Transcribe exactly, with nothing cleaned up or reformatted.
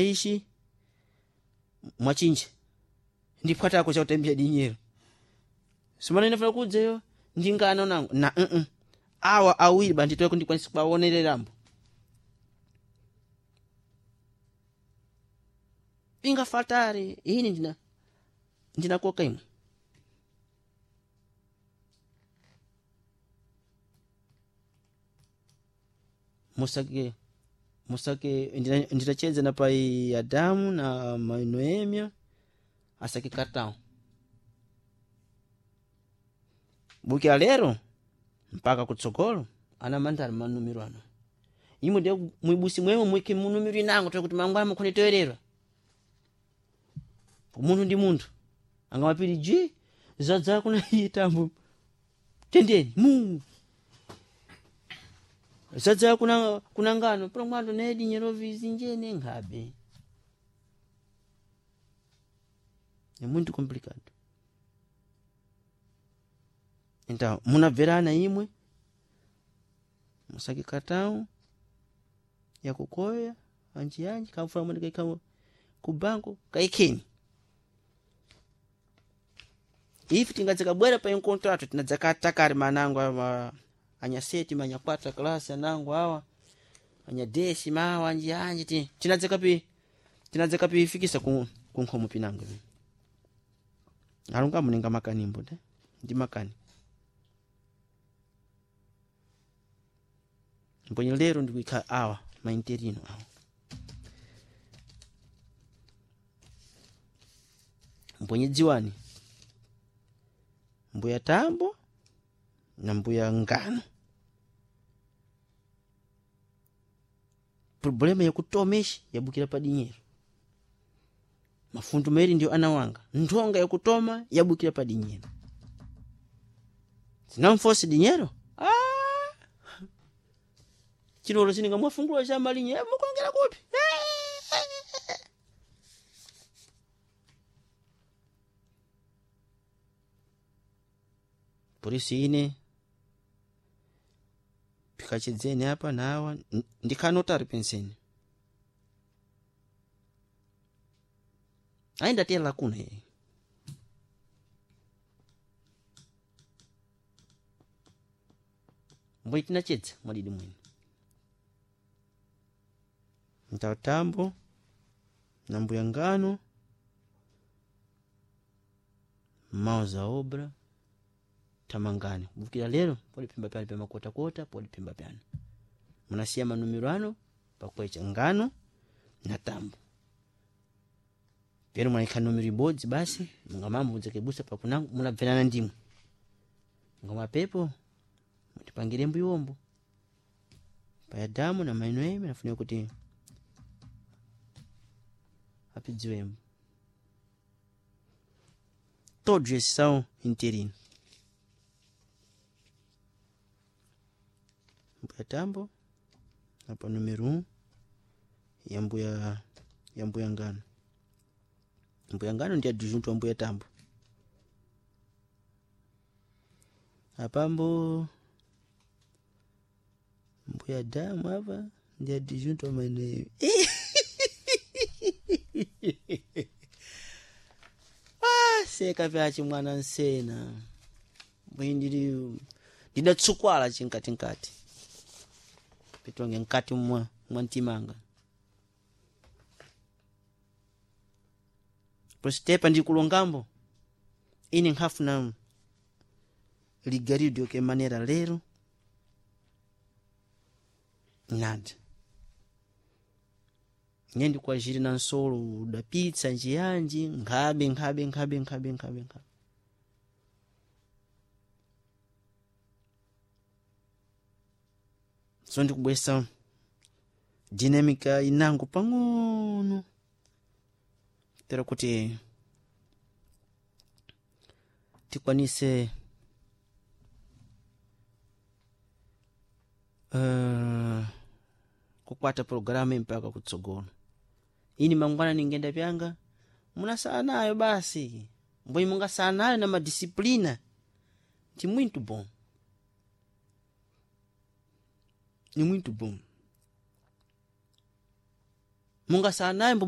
Ishi mwachinje ndiphwatako chakutambira dinyero simana inafuna kudzeyo ndingano nangu na mm -mm. Awa awiri banditoeko ndikwanisa kuwaonererambo ingafatare ini ndina ndinakoka imwe musake musake ndinachedza na pai Adamu na mai Noemia asake cartão bukira lero mpaka kutsogolo ana mandali manumiro ano imwe ndiye mwibusi mwemwe mwike munumiro inango toye kuti mangwana mukhone toyererwa munthu ndi munthu angamapiri ji zadza kuna itambo tendeni mu zadza kuna kuna ngano pano mwando ne dinyero vizinjene nkhabe é muito complicado. Então munabverana imwe musake cartão yakukoya anji anji kamfuna mwene kaika ku banco kaikeni ife tingadzakabwera pa encontro tinadzakatakari manango awa anyaseti manyakwatra klasi anango awa anyadesi mawa anji anji ti tinadzakapi tinadzakapifikisa ku ku nkhomo pinango ivi alunga muninga makanimbo te ndi makani mbonye lero ndikuikha awa mainterino awa mbonye dziwani mbuya tambo na mbuya ngano problema yakutomeshi yabukira pa dinyero mafundu mairi ndiyo anawanga nthonga yakutoma yabukira pa dinyero zinamfosi dinyero ah! chinolo chininga mwafungula cha malinye eh, mukulongera kupi eh! Polisi ine pikachedzeni apa nawa ndikhanotari penseni ainda tela kuna ye mbwe tinachedza mwadidi mwene mtatambo na mbuya ngano mao za obra tamangani kubukira lero poliphimba pyano pamakotakota poliphimba pyano munasiya manumiro ano pakwecha ngano na tambo pero mwaikha numero ibodzi basi mungamamudzekebusa pakunango munabverana ndimwe ngamapepo mutipangire mbuyiwombo payadamu na maino eme nafunika kuti apidziwembo todos esses são interino mbuya tambo apa número um ya mbuya ya mbuya ngano mbuya ngano ndi adjunto wa mbuya tambo apambo mbuya damu apa ndi adjunto wa maeneo ah, seka vyachi mwana nsena mbwi ndili ndidatsukwala chinkatikati pitonge nkati mwa mwa mtimanga positepa ndikulongambo ine nkhafuna ligarido ke manera lero nada nye ndikwajiri na nsolo udapitsa njiyanji nkhabe nkhabe nkhabe nkhabe nkhabe nkhabe so ndikubwesa dinamika inango pang'ono tera kuti tikwanise uh, kukwata programu mpaka kutsogolo ini mangwana ningenda pyanga munasala nayo basi mbwe mungasala nayo na madisiplina ndi muito bom ni muito bom Munga sanayimbo.